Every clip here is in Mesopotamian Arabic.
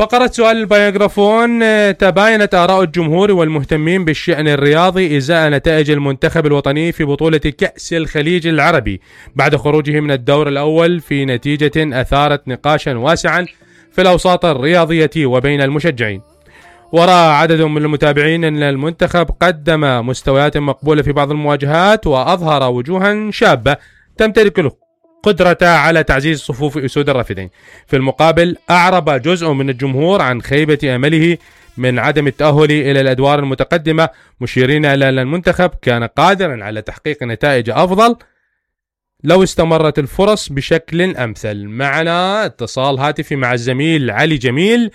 فقرة سؤال البايوغرافون. تباينت آراء الجمهور والمهتمين بالشأن الرياضي إزاء نتائج المنتخب الوطني في بطولة كأس الخليج العربي بعد خروجه من الدور الأول في نتيجة أثارت نقاشا واسعا في الأوساط الرياضية وبين المشجعين. ورأى عدد من المتابعين أن المنتخب قدم مستويات مقبولة في بعض المواجهات وأظهر وجوها شابة تمتلك القدرة على تعزيز صفوف أسود الرافدين. في المقابل أعرب جزء من الجمهور عن خيبة أمله من عدم التأهل إلى الأدوار المتقدمة، مشيرين إلى أن المنتخب كان قادرا على تحقيق نتائج أفضل لو استمرت الفرص بشكل أمثل. معنا اتصال هاتفي مع الزميل علي جميل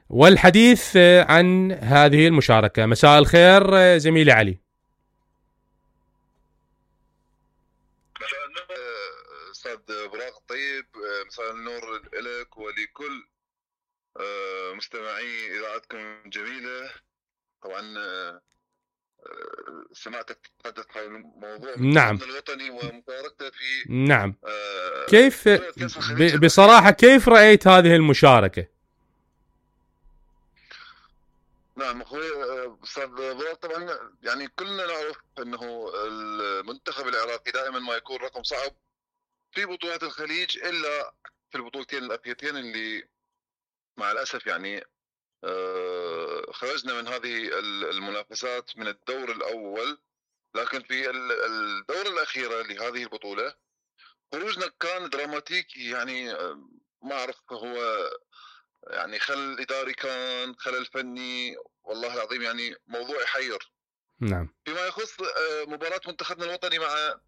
والحديث عن هذه المشاركة. مساء الخير زميلي علي. مساء النور أستاذ براق الطيب، مساء النور لك ولكل مستمعي إذاعتكم الجميلة. طبعا سمعتك تتحدث حول موضوع نعم الوطني ومشاركته في نعم كيف بصراحة كيف رأيت هذه المشاركة؟ نعم اخوي استاذ براق، طبعا يعني كلنا نعرف انه المنتخب العراقي دائما ما يكون رقم صعب في بطولات الخليج، الا في البطولتين الاخيرتين اللي مع الاسف يعني خرجنا من هذه المنافسات من الدور الاول. لكن في الدورة الاخيرة لهذه البطولة خروجنا كان دراماتيكي، يعني ما اعرف هو يعني خلل اداري كان خلل فني، والله العظيم يعني موضوع يحير. نعم. فيما يخص مباراة منتخبنا الوطني مع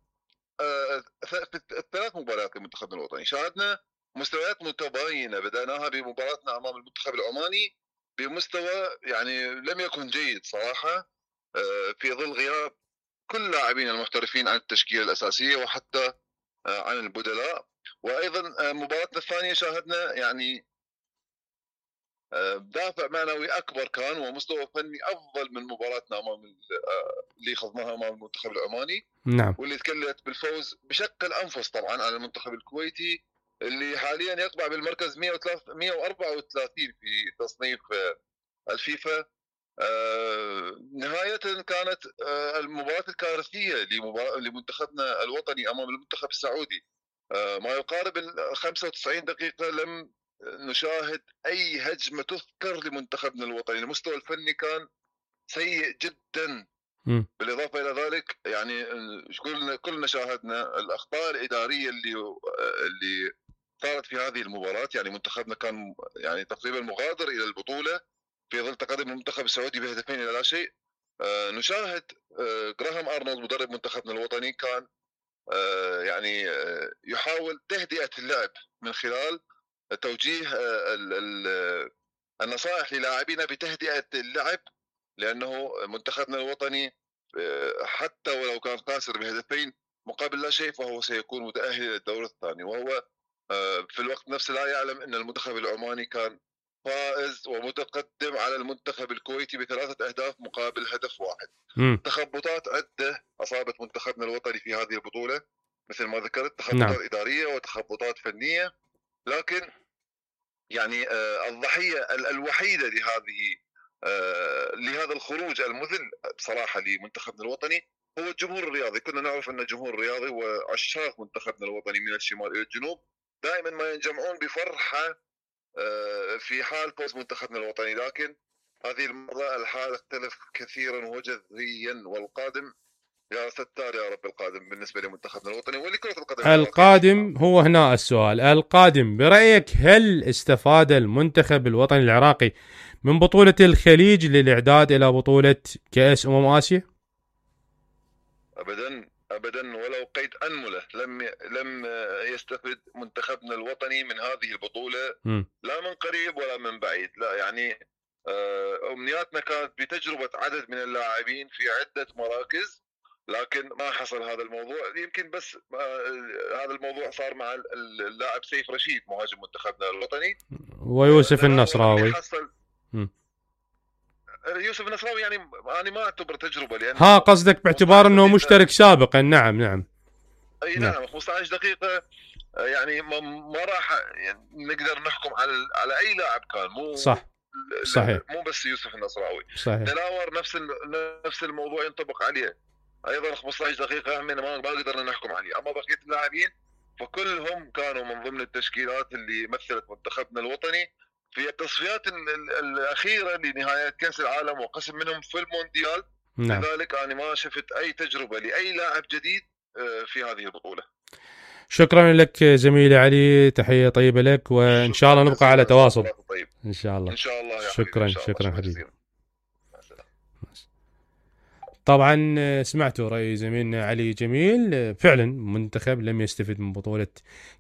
الثلاث مباريات لمنتخبنا الوطني شاهدنا مستويات متباينة. بدأناها بمباراتنا امام المنتخب العماني بمستوى يعني لم يكن جيد صراحة، في ظل غياب كل لاعبين المحترفين عن التشكيلة الأساسية وحتى عن البدلاء. وأيضا مباراتنا الثانية شاهدنا يعني دافع معنوي أكبر كان ومستوى فني أفضل من مباراتنا أمام اللي خضناها أمام المنتخب العماني. نعم. واللي تكلت بالفوز بشق الأنفس طبعا على المنتخب الكويتي اللي حاليا يقبع بالمركز 134 في تصنيف الفيفا. نهاية كانت المباراة الكارثية لمنتخبنا الوطني أمام المنتخب السعودي. ما يقارب 95 دقيقة لم نشاهد أي هجمة تذكر لمنتخبنا الوطني. المستوى الفني كان سيء جدا. بالإضافة إلى ذلك يعني كلنا شاهدنا الأخطاء الإدارية اللي صارت في هذه المباراة. يعني منتخبنا كان يعني تقريبا مغادر إلى البطولة في ظل تقدم المنتخب السعودي بهدفين إلى لا شيء. نشاهد جراهام أرنولد مدرب منتخبنا الوطني كان يعني يحاول تهدئة اللعب من خلال توجيه النصائح للاعبينا بتهدئة اللعب، لأنه منتخبنا الوطني حتى ولو كان خاسر بهدفين مقابل لا شيء فهو سيكون متأهل إلى الدور الثاني. وهو في الوقت نفسه لا يعلم أن المنتخب العماني كان فائز ومتقدم على المنتخب الكويتي ب3 أهداف مقابل هدف واحد. تخبطات عدة أصابت منتخبنا الوطني في هذه البطولة مثل ما ذكرت، تخبطات إدارية وتخبطات فنية. لكن يعني الضحية الوحيدة لهذا الخروج المذل بصراحة لمنتخبنا الوطني هو الجمهور الرياضي. كنا نعرف أن الجمهور الرياضي وعشاق منتخبنا الوطني من الشمال إلى الجنوب دائما ما ينجمعون بفرحة في حال فوز منتخبنا الوطني. لكن هذه المرة الحال اختلف كثيرا وجذريا، والقادم يا ستار يا رب القادم بالنسبة لمنتخبنا الوطني ولكرة القدم. القادم هو هنا السؤال، القادم برأيك هل استفاد المنتخب الوطني العراقي من بطولة الخليج للإعداد إلى بطولة كأس آسيا؟ أبدا ولو قيد أنملة لم يستفد منتخبنا الوطني من هذه البطولة لا من قريب ولا من بعيد. لا يعني أمنياتنا كانت بتجربة عدد من اللاعبين في عدة مراكز، لكن ما حصل هذا الموضوع. يمكن بس هذا الموضوع صار مع اللاعب سيف رشيد مهاجم منتخبنا الوطني ويوسف النصراوي. يوسف النصراوي يعني أنا ما أعتبر تجربة، لأن قصدك باعتبار أنه مشترك سابقا. نعم أي نعم 15 دقيقة يعني ما راح يعني نقدر نحكم على اي لاعب كان، صح صحيح مو بس يوسف النصراوي. صحيح دلاور نفس الموضوع ينطبق عليه ايضا. 15 دقيقه هم ما قدرنا نحكم عليه. اما بقيه اللاعبين فكلهم كانوا من ضمن التشكيلات اللي مثلت منتخبنا الوطني في التصفيات الاخيره لنهايات كاس العالم، وقسم منهم في المونديال. نعم. لذلك انا ما شفت اي تجربه لاي لاعب جديد في هذه البطوله. شكرا لك زميلي علي، تحيه طيبه لك، وان شاء الله نبقى على تواصل. طيب. ان شاء الله. ان شاء الله يا شكرا حبيبي. شكرا حبيبي. طبعا سمعتوا رأي زميلنا علي جميل. فعلا منتخب لم يستفد من بطولة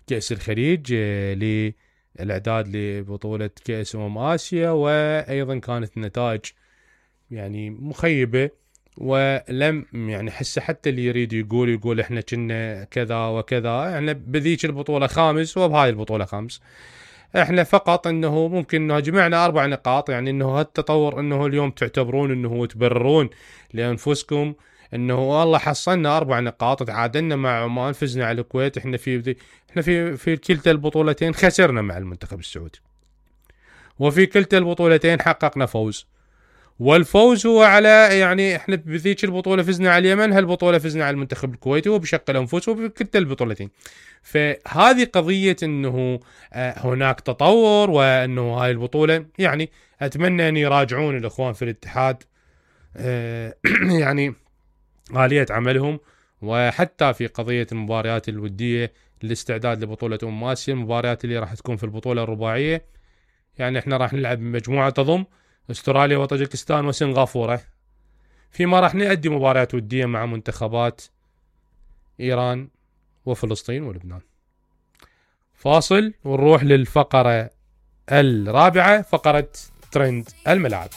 كأس الخليج للإعداد لبطولة كأس آسيا، وأيضا كانت النتائج يعني مخيبة، ولم يعني حتى اللي يريد يقول احنا كنا كذا وكذا، احنا بذيك البطولة خامس وبهاي البطولة خامس. احنا فقط انه ممكن انه جمعنا 4 نقاط، يعني انه هالتطور انه اليوم تعتبرون انه تبررون لانفسكم انه والله حصلنا 4 نقاط، تعادلنا مع عمان، فزنا على الكويت، احنا في كلتا البطولتين خسرنا مع المنتخب السعودي، وفي كلتا البطولتين حققنا فوز، والفوز هو على يعني احنا بذيك البطوله فزنا على اليمن، هالبطوله فزنا على المنتخب الكويتي وبشق الانفس وبكلتا البطولتين. فهذه قضيه انه هناك تطور، وانه هاي البطوله يعني اتمنى ان يراجعون الاخوان في الاتحاد يعني آلية عملهم، وحتى في قضيه المباريات الوديه للاستعداد لبطوله آسيا، المباريات اللي راح تكون في البطوله الرباعيه. يعني احنا راح نلعب مجموعه تضم استراليا وطاجكستان وسنغافورة، فيما راح نؤدي مباريات ودية مع منتخبات إيران وفلسطين ولبنان. فاصل ونروح للفقرة الرابعة، فقرة ترند الملاعب.